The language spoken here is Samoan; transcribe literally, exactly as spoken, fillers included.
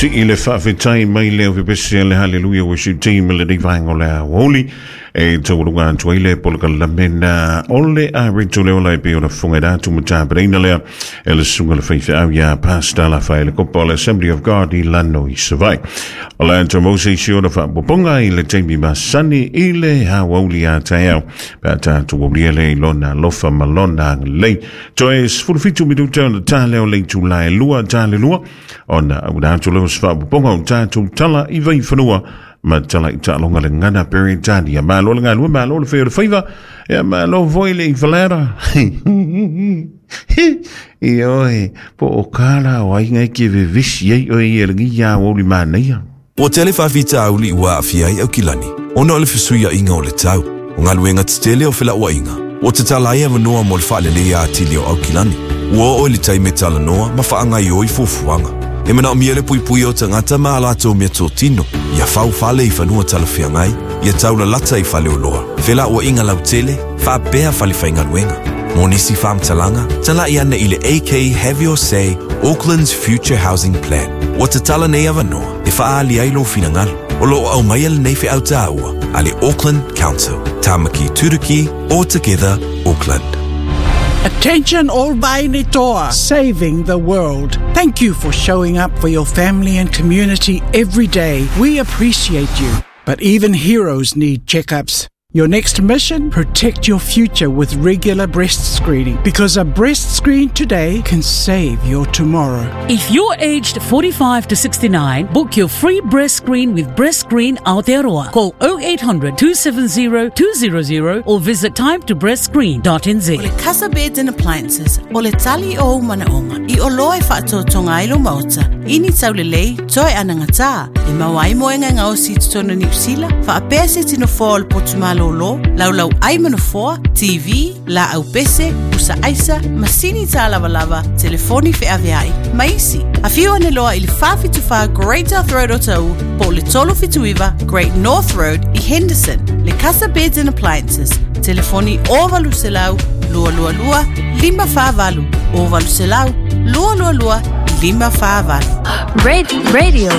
Sii le faafetai mai le aufepesi a le Haleluia Worship Team i lenei vaega o le aoauli e taualuga atu ai le polokalameina o le Areto le Ola e pei ona fofoga atu ma tapenaina lea e le susuga i le faifeau ia Pastor Lafaele Kopa o le Assembly of God i Lano i Savaii. O le a maua se isi ona faaopoopoga i le taimi masani i le aoauli a taeao pe a tatou aulia lea i lona alofa ma lona agalelei. Toe sefulu fitu minuta ona ta lea o le itula e lua ta le lua ona auina atu lea o se faaopoopoga o tatou tala i vaifanua ma tala i taaloga le gagana Peretania. Malo le galue, malo le fai o le faiva, ia malo foi le ifalera. Ioe, po o kala o aiga e ke vevesi ai oe i e lenei aoauli manaia. Ua tele faafitauli ua aafia ai Aukilani ona o le fesuiaiga o le tau. O galuega tetele o felauaiga ua tatala ai avanoa mo le faaleleia atili o Aukilani. Ua oo i le taimi e talanoa ma faagaoioi fuafuaga. E manaomia le puipuia o tagata ma a latou meatotino, ia fau fale i fanua talafeagai, ia taulalata i faleoloa, felauaiga lautele, faapea fale faigaluega. Mo nisi faamatalaga, talai ane i le A K Have Your Say Auckland's Future Housing Plan. Ua tatala nei avanoa e faaali ai lou finagalo. O loo aumaia lenei feau taua a le Auckland Council. Tamaki Turuki, all together, Auckland. Attention all Vaine Toa, saving the world. Thank you for showing up for your family and community every day. We appreciate you. But even heroes need checkups. Your next mission? Protect your future with regular breast screening, because a breast screen today can save your tomorrow. If you're aged forty-five to sixty-nine, book your free breast screen with Breast Screen Aotearoa. Call oh eight hundred two seven zero two hundred or visit timetobreastscreen dot N Z. O le Casa Beds and Appliances, o le tali o ou manaoga, i oloa e faatotoga ai lou maota, i ni taulelei, toe anagatā, e maua ai moega e gaosi i totonu o Niu Sila, faapea se tinofoa o le potu malōlō, laulau ai ma nofoa, T V, laau pese, pusa aisa, masini tā lavalava, telefoni feaveai, ma isi. Afio ane loa i le fa fitu fa Great South Road o Ta'u, po o le tolu fitu iva Great North Road i Henderson. Le Casa Beds and Appliances, telefoni o valu selau, lua lua lua, lima fa valu, o valu selau, lua lua lua, lima fa valu. Radio, radio.